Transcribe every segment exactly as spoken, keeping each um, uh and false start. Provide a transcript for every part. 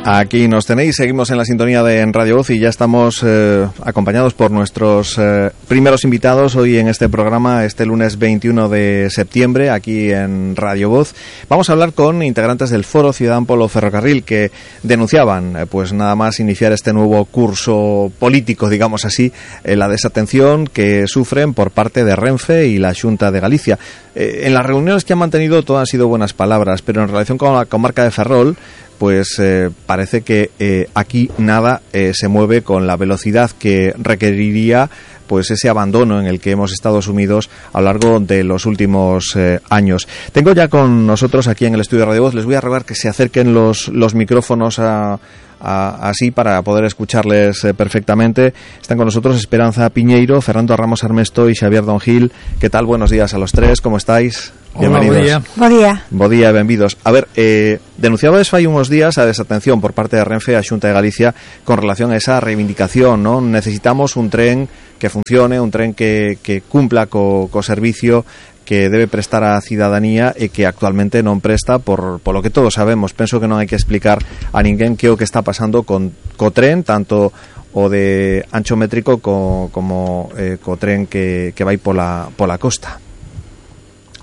Aquí nos tenéis, seguimos en la sintonía de en Radio Voz y ya estamos eh, acompañados por nuestros eh, primeros invitados hoy en este programa, este lunes veintiuno de septiembre, aquí en Radio Voz. Vamos a hablar con integrantes del Foro Ciudadano Polo Ferrocarril que denunciaban, eh, pues nada más iniciar este nuevo curso político, digamos así, eh, la desatención que sufren por parte de Renfe y la Xunta de Galicia. Eh, en las reuniones que han mantenido todo han sido buenas palabras, pero en relación con la comarca de Ferrol, pues eh, parece que eh, aquí nada eh, se mueve con la velocidad que requeriría pues ese abandono en el que hemos estado sumidos a lo largo de los últimos eh, años. Tengo ya con nosotros aquí en el estudio de Radio Voz, les voy a rogar que se acerquen los, los micrófonos a, a, así para poder escucharles eh, perfectamente. Están con nosotros Esperanza Piñeiro, Fernando Ramos Armesto y Xavier Don Gil. ¿Qué tal? Buenos días a los tres, ¿cómo estáis? Hola, bienvenidos. Bo día. Bo día, benvidos. A ver, eh, denunciabades fai unos días a desatención por parte de Renfe a Xunta de Galicia con relación a esa reivindicación, ¿no? Necesitamos un tren que funcione, un tren que, que cumpla co, co servicio que debe prestar á cidadanía e que actualmente non presta por, por lo que todos sabemos. Penso que non hai que explicar a ninguén que o que está pasando con co tren, tanto o de ancho métrico co, como eh, co tren que, que vai pola, pola costa.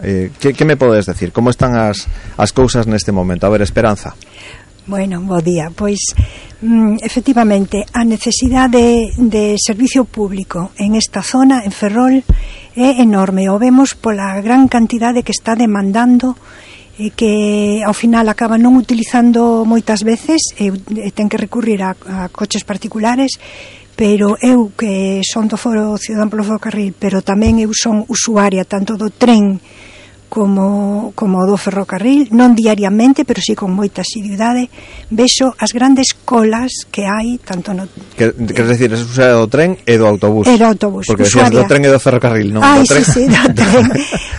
Eh, que, que me podes decir? Como están as, as cousas neste momento? A ver, Esperanza. Bueno, bo día. Pois, mm, efectivamente, a necesidade de, de servicio público en esta zona, en Ferrol, é enorme. O vemos pola gran cantidade que está demandando e que ao final acaba non utilizando moitas veces e, e ten que recurrir a, a coches particulares, pero eu que son do Foro Ciudadano Polo Ferrocarril, pero tamén eu son usuaria tanto do tren como, como do ferrocarril, non diariamente, pero sí con moita asiduidade, vexo as grandes colas que hai, tanto no... Que, queres decir, es usuaria do tren e do autobús? E do autobús, porque usuaria. decías do tren e do ferrocarril, non? Ai, do tren. sí, sí, do tren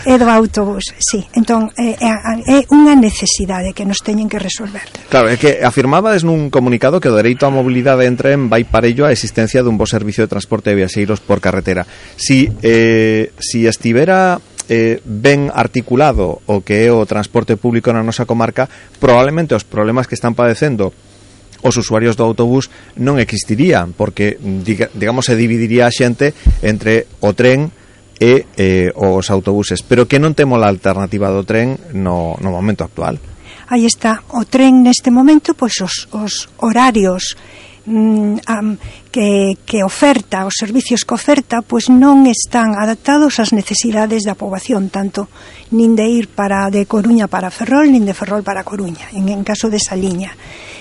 e do autobús, sí. Entón, é, é unha necesidade que nos teñen que resolver. Claro, é que afirmabades nun comunicado que o dereito á mobilidade en tren vai parello á existencia dun bo servicio de transporte de viaxeiros por carretera. Si, eh, si estivera... Eh, ben articulado o que é o transporte público na nosa comarca, probablemente os problemas que están padecendo os usuarios do autobús non existirían, porque diga, digamos se dividiría a xente entre o tren e eh, os autobuses, pero que non temos a alternativa do tren no, no momento actual. Aí está, o tren neste momento, pois os, os horarios mm, um, que, que oferta, os servicios que oferta, pois non están adaptados ás necesidades da poboación, tanto nin de ir para de Coruña para Ferrol, nin de Ferrol para Coruña, en, en caso desa liña.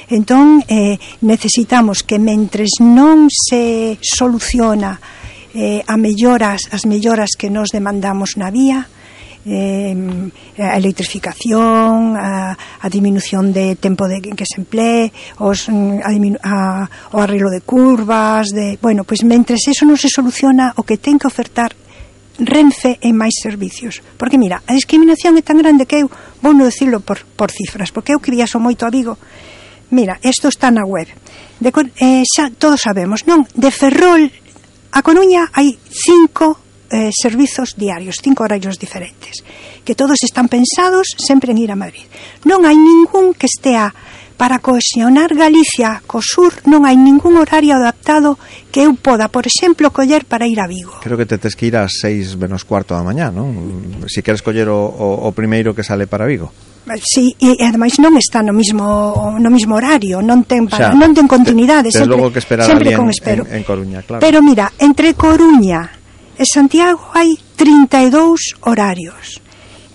Entón, eh, necesitamos que mentres non se soluciona eh, a melloras, as melloras que nos demandamos na vía, Eh, a electrificación, a, a diminución de tempo de que se emplee, os, a, a, o arreglo de curvas, de, bueno, pois mentres eso non se soluciona, o que ten que ofertar Renfe en máis servicios. Porque mira, a discriminación é tan grande que eu vou non decirlo por, por cifras, porque eu que viaxo moito a Vigo. Mira, isto está na web. De, eh, xa todos sabemos, non? De Ferrol a Coruña hai cinco Eh, servizos diarios, cinco horarios diferentes, que todos están pensados sempre en ir a Madrid. Non hai ningún que estea para cohesionar Galicia co sur, non hai ningún horario adaptado que eu poda, por exemplo, coller para ir a Vigo. Creo que te tes que ir ás seis menos cuarto da mañá, non? Se si queres coller o, o, o primeiro que sale para Vigo. Sí, e ademais non está no mismo no mismo horario, non ten para, o sea, non ten continuidade, te, sempre, logo que esperar sempre en, con espero. En, en Coruña, claro. Pero mira, entre Coruña e Santiago hai trinta e dous horarios.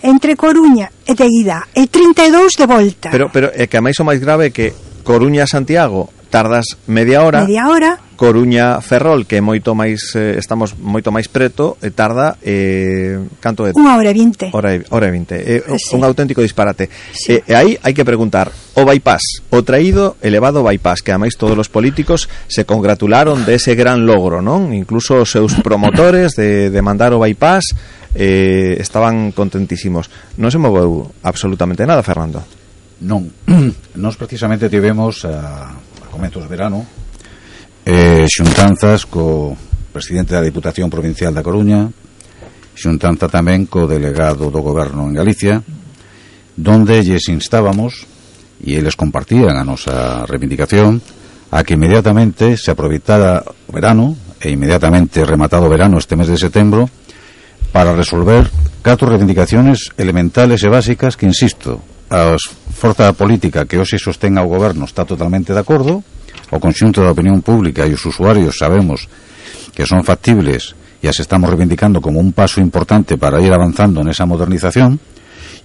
Entre Coruña e de ida e trinta e dous de volta. Pero pero é que a máis o máis grave é que Coruña a Santiago tardas media hora. Media hora. Coruña Ferrol, que é moito máis eh, estamos moito máis preto, e tarda eh, canto é? Unha hora e vinte. Hora e, hora e vinte. É eh, sí. Un auténtico disparate. Sí. E eh, aí hai que preguntar, o bypass, o traído elevado bypass, que ademais todos os políticos se congratularon de ese gran logro, non? Incluso os seus promotores de, de mandar o bypass eh, estaban contentísimos. Non se moveu absolutamente nada, Fernando. Non. Nós precisamente tivemos a, a comezos de verano eh, xuntanzas co presidente da Diputación Provincial da Coruña, xuntanza tamén co delegado do Goberno en Galicia, donde lles instábamos e eles compartían a nosa reivindicación a que inmediatamente se aproveitara o verano e inmediatamente rematado o verano este mes de setembro para resolver catro reivindicaciones elementales e básicas que, insisto, a forza política que hoxe sostén ao goberno está totalmente de acordo, o conxunto da opinión pública e os usuarios sabemos que son factibles e as estamos reivindicando como un paso importante para ir avanzando nesa modernización.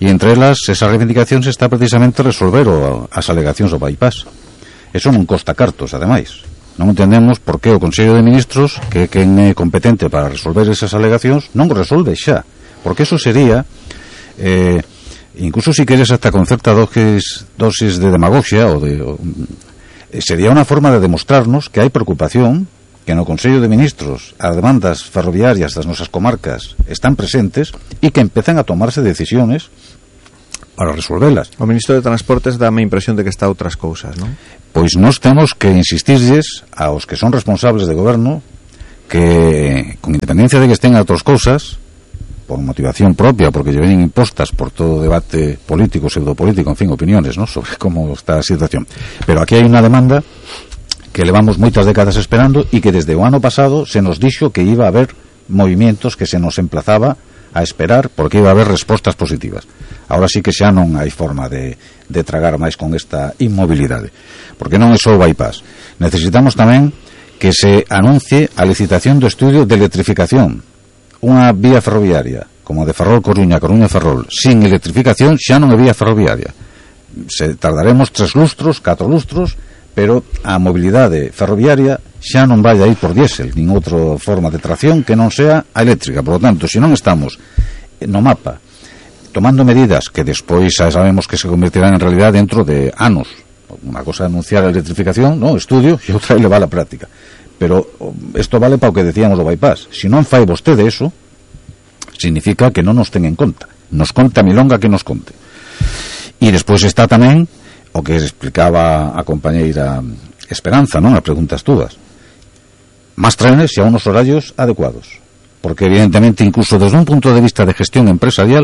E entre elas, esa reivindicación se está precisamente a resolver o, as alegacións do bypass. Eso non costa cartos, ademais. Non entendemos por que o Consello de Ministros, que é quen é competente para resolver esas alegacións, non o resolve xa. Porque eso sería, eh, incluso si queres hasta con certa dosis, dosis de demagogia, o de, o, sería unha forma de demostrarnos que hai preocupación, que no Consello de Ministros as demandas ferroviarias das nosas comarcas están presentes e que empezan a tomarse decisiones para resolvelas. O Ministro de Transportes dame a impresión de que está a outras cousas, non? Pois nós temos que insistirlles aos que son responsables de goberno que, con independencia de que estén a outras cousas, por motivación propia, porque lle venen impostas por todo o debate político, pseudopolítico, en fin, opiniones, ¿no?, sobre como está a situación. Pero aquí hai unha demanda que levamos moitas décadas esperando e que desde o ano pasado se nos dixo que iba a haber movimientos, que se nos emplazaba a esperar porque iba a haber respostas positivas. Ahora sí que xa non hai forma de, de tragar máis con esta inmobilidade, porque non é só o bypass. Necesitamos tamén que se anuncie a licitación do estudio de electrificación. Unha vía ferroviaria como a de Ferrol-Coruña, Coruña-Ferrol sin electrificación xa non é vía ferroviaria. Se tardaremos tres lustros, catro lustros, pero a mobilidade ferroviaria xa non vai a ir por diésel nin outra forma de tracción que non sea a eléctrica. Por lo tanto, se non estamos no mapa tomando medidas que despois xa sabemos que se convertirán en realidad dentro de anos, unha cosa é anunciar a electrificación, no, estudio, e outra é levar a práctica, pero isto vale para o que decíamos do bypass. Se non fai vostede eso, significa que non nos ten en conta, nos conta a milonga que nos conte. E despois está tamén o que explicaba a compañeira Esperanza, non? As preguntas todas. Más trenes e a unos horarios adecuados. Porque, evidentemente, incluso desde un punto de vista de gestión empresarial,